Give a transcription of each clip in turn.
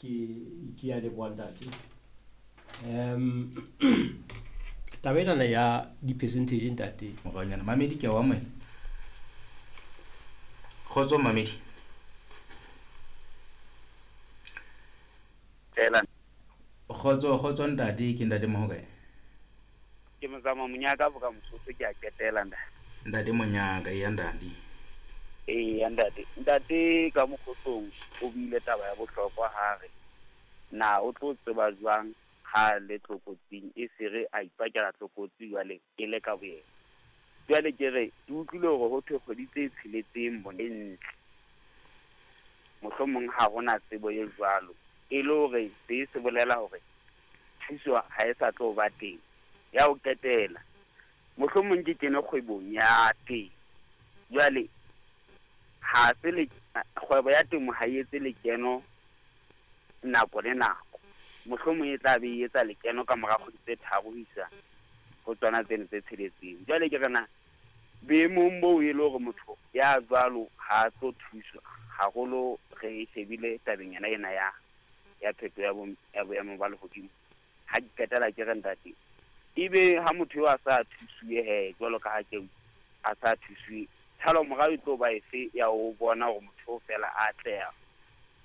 Ke ya leboha ntate. Taba enana ya di-percentage ntate. Moranyana mamedi ke a o amohela. Kgotso mamedi. Fela. Kgotso kgotso ntate ke ntate Mohokae. Ke mozama monyaka boka mosotho ke a qetela ntate. Ntate monyaka ya ntate. Ee ntate. Ntate ka mokgotsong o buile taba ya bohlokwa ha re na o tlo tseba jwang ha le tlokotsing e sere a ipakela tlokotsi jwale e le ka boyena. Jwale ke re ke utlwile hore ho thwe kgwedi tse tsheletseng bone ntle. Mohlomong ha hona tsebo e jwalo. E le hore se se bolela hore thuso ha e sa tlo ba teng. Ya ho qetela. Mohlomong ke kene kgwebong ya teng. Jwale ha se le kgwebo ya temo ha e etse lekeno nako le nako. Mohlomong e tla be e etsa lekeno ka mora kgwedi tse tharo ho isa ho tsona tseno tse tsheletseng. Jwale ke re na boemong boo e le hore motho ya jwalo ha a tlo thuswa haholo re shebile tabeng yona ena ya pheto ya boemo ba lehodimo. Ha ke qetela ke re ntate, ebe ha motho eo a sa thusuwe he jwalo ka ha ke a sa thusuwe, tshalo morao e tlo ba efe ya ho bona hore motho o fela a atleha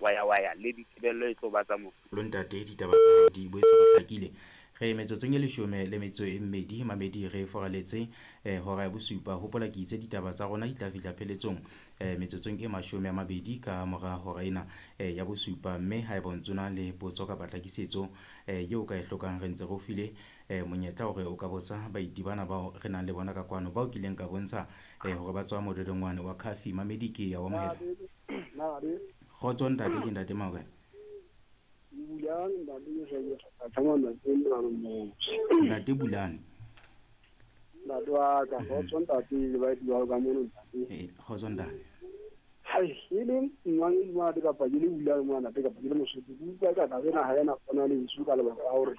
waya le ditebello e tlo ba tsa mofu. Lo ntate ditaba tsa hao di boetse di hlakile. Re metsotsong e 12 mamedi re foraletse hora ya bosupa. Hopola ke itse ditaba tsa rona di tla fihla pheletsong metsotsong e 20 ka mora hora ena ya bosupa. Mme haeba o ntso na le potso kapa tlhakisetso eo ka e hlokang, re ntse re o file monyetla hore o ka botsa baeti bana bao re nang le bona ka kwano, bao kileng ka bontsha hore ba tswa mododongwane wa Khafi. Mamedi ke ya o amohela. Kgotso ntate, ke ntate Maokae. Ntate Bulane. Ntate wa ka, kgotso ntate le baeti ba ka mono ntate. Kgotso ntate. Hai, e le ngwane mwana kapa ke le Bulane mwana ntate kapa ke le Mosotho. Ke utlwa ka taba ena ha ena kgona le ntsho ka lebaka la hore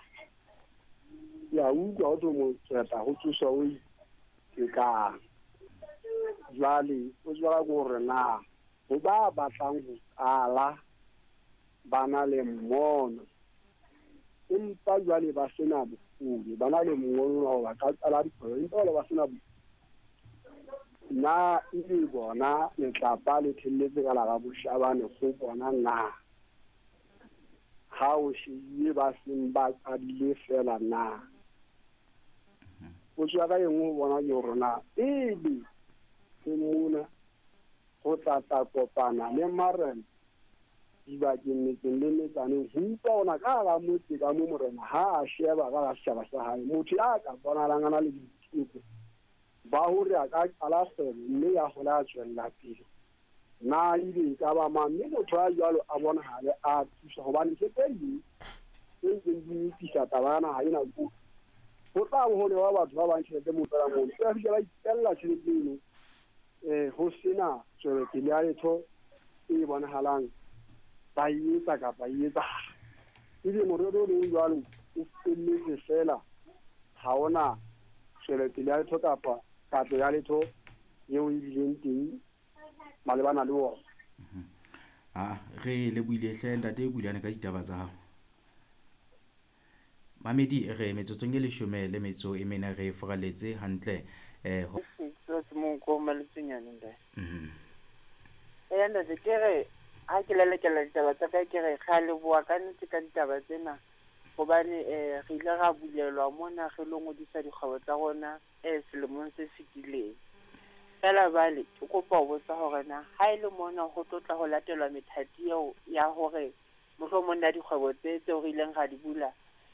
ya utlwa ho tlo mo tsweta ho tsoswa o itekang. Jwale o tswa ka hore na ho ba batlang ho qala ba na le mmono, empa jwale ba sena bokgoni, ba na le mmono wa ba ka qala dikgwebo, empa jwale ba sena bokgoni. Na ebe bona letlapa le thelletse ka la boshabane ho bona na ha o shebile ba seng ba qadile fela na? Potso ya ka e nngwe ho bona ke hore na ebe ke mona ho tla tla kopana le marena dibakeng metseng le metsaneng ho utlwa ona ka hara motse ka mo morena ha a sheba ka hara setjhaba sa hae motho ya ka bonahalang a na le boiteko ba hore a ka qala kgwebo mme ya hola a tswella pele na ebe e ka ba mang, mme motho a jwalo a bonahale a thusa hobane ntho tse ding tse ntseng di nyopisa taba ya naha ena ko ho tla bo ho newa batho ba bang tjhelete moo fela mono ba fihla ba itella tjhelete eno ho sena tswelopele ya letho e bonahalang ba e etsa kapa e etsahala. Ebe morero o leng jwalo o felletse fela ha ona tswelopele ya letho kapa katlo ya letho eo e bileng teng malebana le ona. Re lebohile hle ntate Bulane ka ditaba tsa hao. Mamedi re metsotsong e 14 re foraletse hantle Ntate ke re ha ke lelekela ditaba tsa ka ke re re leboha ka nnete ka ditaba tsena hobane re ile ra bulelwa mona re lo ngodisa dikgwebo tsa rona selemong se fetileng. Fela jwale ke kopa ho botsa hore na ha e le mona ho tlo tla ho latelwa methati eo ya hore mohlomong na dikgwebo tse tseo re ileng ra di bula